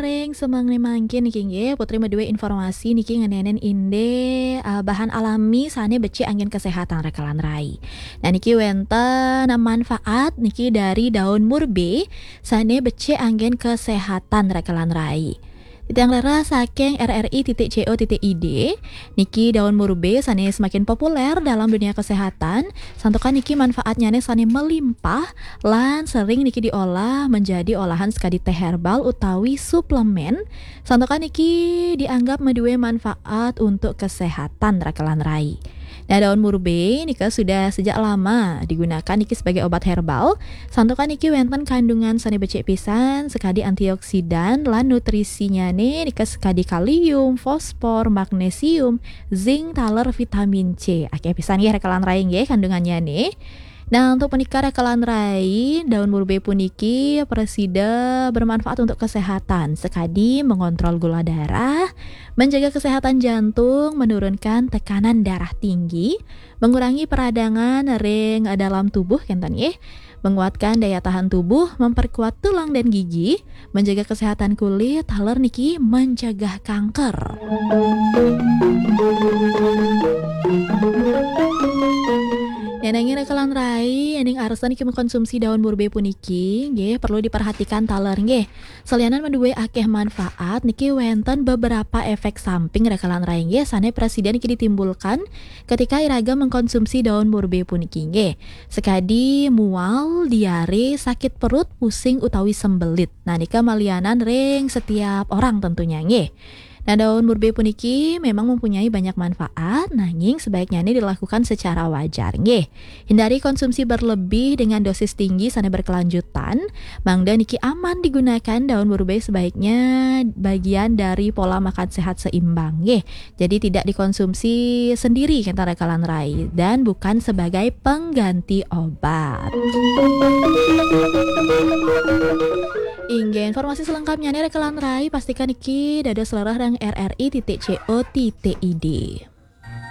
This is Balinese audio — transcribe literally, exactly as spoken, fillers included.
Ring semeng mangkin niki nggih, Putri maduwe informasi niki ngenenen inde, eh, bahan alami sane becik anggen kesehatan rekelan rai. Nah, niki wenten manfaat niki dari daun murbe sane becik anggen kesehatan rekelan rai. Titiang rera saking R R I titik C O titik I D, niki daun murbe sane semakin populer dalam dunia kesehatan, santukan niki manfaatnyane sane melimpah lan sering niki diolah menjadi olahan sekadi teh herbal utawi suplemen, santukan niki dianggap maduwe manfaat untuk kesehatan rekelan rai. Nah, daun murbe nika sudah sejak lama digunakan niki sebagai obat herbal. Santukan niki wenten kandungan sane becik pisan, sekadi antioksidan lan nutrisinyane nika sekadi kalium, fosfor, magnesium, zinc, taler, vitamin C. Akeh pisan nggih rekelan rai nggih kandungannyane. Nah, untuk menikah rekelan rai, daun murbe puniki presida bermanfaat untuk kesehatan, sekadi mengontrol gula darah, menjaga kesehatan jantung, menurunkan tekanan darah tinggi, mengurangi peradangan ring dalam tubuh kenten nggih, menguatkan daya tahan tubuh, memperkuat tulang dan gigi, menjaga kesehatan kulit, taler niki mencegah kanker. Nanging rekelan rai, ening arsa niki mengkonsumsi daun murbe puniki, nggih, perlu diperhatikan taler nggih. Salianan maduwe akeh manfaat, niki wenten beberapa efek samping rekelan rai nggih, sane presida niki ditimbulkan ketika iraga mengkonsumsi daun murbe puniki nggih. Sekadi mual, diare, sakit perut, pusing utawi sembelit. Nah, nika malianan ring setiap orang tentunya nggih. Nah, daun murbe puniki memang mempunyai banyak manfaat, nanging sebaiknya ini dilakukan secara wajar nggih. Hindari konsumsi berlebih dengan dosis tinggi sane berkelanjutan. Mangda niki aman digunakan, daun murbe sebaiknya bagian dari pola makan sehat seimbang nggih. Jadi tidak dikonsumsi sendiri kenten rekelan rai dan bukan sebagai pengganti obat. Inggih, informasi selengkapnya nih rekelan rai pastikan niki dados lerah ring R R I titik C O titik I D.